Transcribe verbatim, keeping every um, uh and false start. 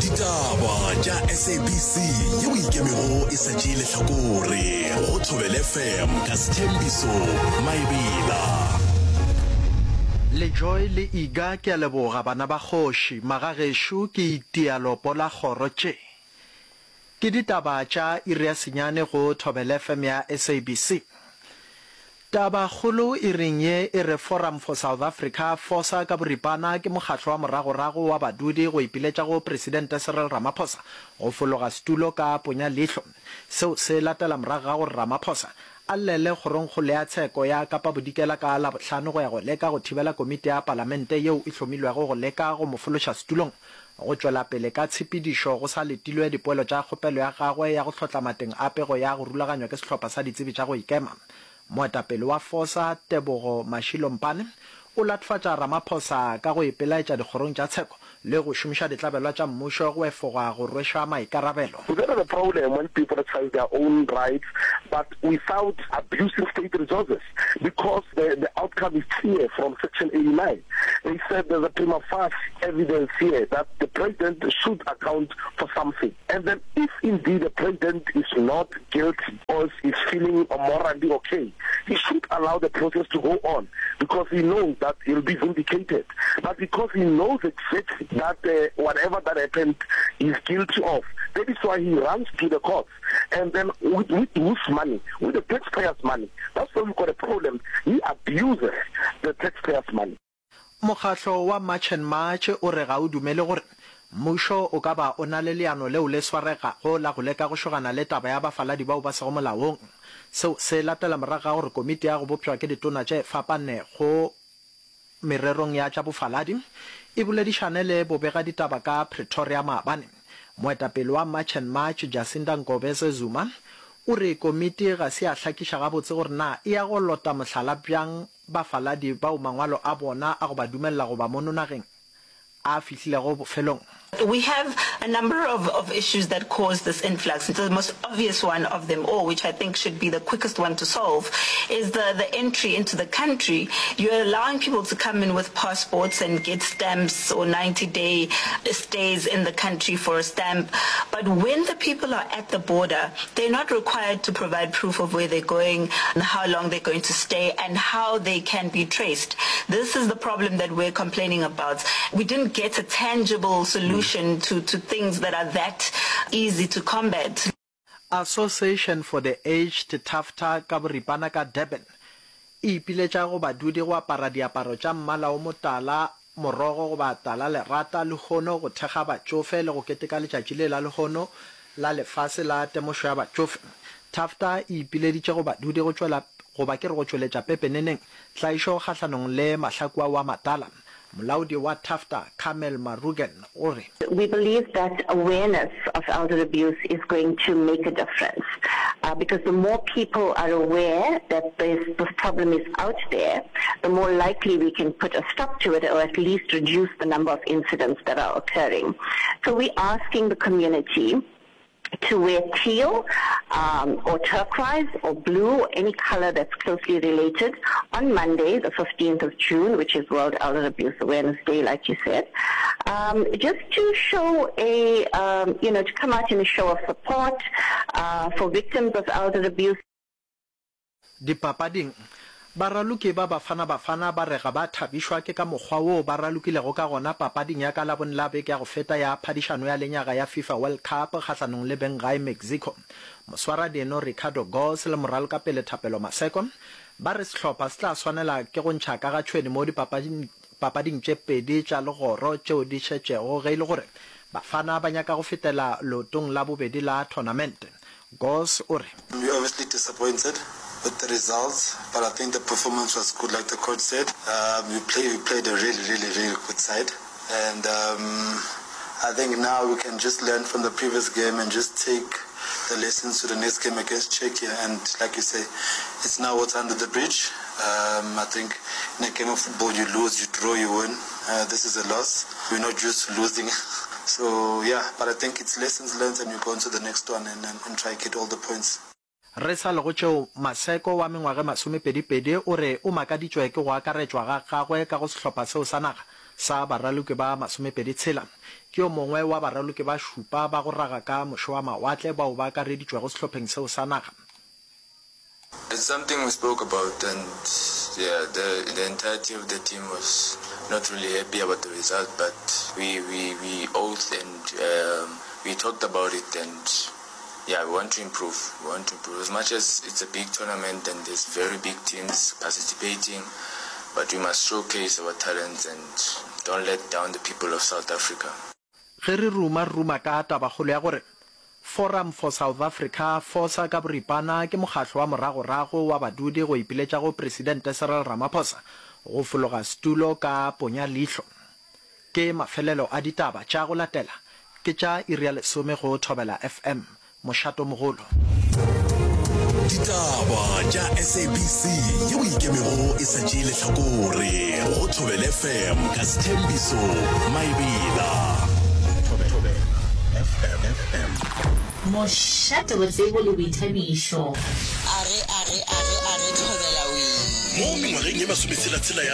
Ditaba tša S A B C yeo ikemego e sa tšee lehlakore go Thobela F M ka Sethembiso Maebela. Le Joy le Iga ke a leboga bana ba kgoši magagešo ke itia lopo la kgoro tše ke ditaba tša iri ya senyane go Thobela F M ya S A B C. Tabakgolo iring ye e re Forum for South Africa, FOSA ka boripana, ke mokgatlo wa moragorago wa badudi go ipiletša go Presidente Cyril Ramaphosa go fologa setulo ka ponya leihlo. Seo se latela morago ga gore Ramaphosa a llele kgorongkgolo ya tsheko ya Kapa Bodikela ka Labohlano go ya go leka go thibela komiti ya palamente yeo e hlomilwego go leka go mo fološa setulong go tšwela pele ka tshepedišo go sa letilwe dipoelo tša kgopelo ya gagwe ya go hlotla mateng a pego ya go rulaganywa ke sehlopha sa ditsebi tša go ikema. Moetapele wa FOSA, Tebogo Mashilo-Mpane, o latofatša Ramaphosa ka go ipelaetša dikgorong tša tsheko le go šomiša ditlabelwa tša mmušo go efoga go rwešwa maikarabelo. We don't have a problem when people exercise their own rights, but without abusing state resources, because the, the outcome is clear from Section eighty-nine. They said there's a prima facie evidence here that the president should account for something. And then if indeed the president is not guilty or is feeling morally okay, he should allow the process to go on because he knows that he'll be vindicated. But because he knows exactly that uh, whatever that happened, he's guilty of, that is why he runs to the courts. And then with, with whose money? With the taxpayers' money. That's why we've got a problem. He abuses the taxpayers' money. Mokgatlo wa March and March o re ga o dumele gore mmušo o ka ba o na le leano leo le swaregago la go leka go šogana le taba ya bafaladi bao ba sego molaong. Seo se latela morago ga gore komiti ya go bopšwa ke ditona tše fapanego mererong ya tša bofaladi e boledišane le bobegaditaba ka Pretoria maabane. Moetapele wa March and March, Jacinta Ngobese Zuma, o re komiti ga se ya hlakiša gabotse gore na e ya go lota mohlala bjang bafaladi bao mangwalo a bona a go ba dumelela go ba mono nageng a fihlilego bofelong. We have a number of, of issues that cause this influx. The most obvious one of them all, which I think should be the quickest one to solve, is the, the entry into the country. You're allowing people to come in with passports and get stamps or ninety-day stays in the country for a stamp. But when the people are at the border, they're not required to provide proof of where they're going, and how long they're going to stay, and how they can be traced. This is the problem that we're complaining about. We didn't get a tangible solution to, to things that are that easy to combat. Association for the Aged, TAFTA ka boripana, ka Durban e ipiletša go badudi go apara diaparo tša mmala o motala morogo goba tala lerata lehono go thekga batšofe le go keteka letšatši le la lehono la lefase la temošo ya batšofe. TAFTA e ipileditše go badudi go tšwela goba ke re go tšweletša pepeneneng tlaišo kgahlanong le mahlaku ao a matala. Molaodi wa TAFTA, Carmel Marugan, o re. We believe that awareness of elder abuse is going to make a difference uh, because the more people are aware that this, this problem is out there, the more likely we can put a stop to it or at least reduce the number of incidents that are occurring. So we're asking the community to wear teal um, or turquoise or blue or any color that's closely related on Monday, the fifteenth of June, which is World Elder Abuse Awareness Day, like you said, um, just to show a, um, you know, to come out in a show of support uh, for victims of elder abuse. Dipapading, baraloki ba Bafana Bafana ba re ga ba thabišwa ke ka mokgwa woo ba ralokilego ka gona papading ya ka Labone la beke ya go feta ya phadišano ya lenyaga ya FIFA World Cup kgahlanong le benggae Mexico. Moswaradino Ricardo Goss le moralokapele Thapelo Maseko ba re sehlopha se tla swanela ke go ntšha ka ga tšhwene mo dipapading tše pedi tša legoro tšeo di šetšego ge e le gore Bafana ba nyaka go fetela leotong la bobedi la tournament. Goss o re. We're obviously disappointed with the results, but I think the performance was good, like the coach said. Um, we, play, we played a really, really, really good side. And um, I think now we can just learn from the previous game and just take the lessons to the next game against Czechia. And like you say, it's now what's under the bridge. Um, I think in a game of football, you lose, you draw, you win. Uh, this is a loss. We're not used to losing. So, yeah, but I think it's lessons learned and you go into the next one and, and, and try to get all the points. Re sa le go tšeo, Maseko wa mengwaga masomepedipedi o re o makaditšwe ke go akaretšwa ga gagwe ka go sehlopha seo sa naga. sa baraloki ba masomepedi tshela. Ke yo mongwe wa baraloki ba šupa ba go raga ka moše wa mawatle bao ba akareditšwego sehlopheng seo sa naga. It's something we spoke about and yeah, the, the entirety of the team was not really happy about the result, but we, we, we oath and um, we talked about it and yeah, we want to improve. We want to improve. As much as it's a big tournament and there's very big teams participating, but we must showcase our talents and don't let down the people of South Africa. Ge re ruma, re ruma ka tabakgolo ya gore Forum for South Africa, FOSA, ka boripana, ke mokgatlo wa moragorago wa badudi go ipiletša go Presidente Cyril Ramaphosa go fologa setulo ka ponya leihlo. Ke mafelelo a ditaba tša go latela ke tša iri ya lesome go Thobela FM, mošatomogolo. Ditaba tša SABC yeo e ikemego e sa tšee lehlakore go Thobela FM ka Sthembiso Maebela. Thobela FM. Mošate wa tsebo le boithabišo. Arre, arre, arre, arre, Thobela wee. Mo mengwageng ye masometshela-tshela ya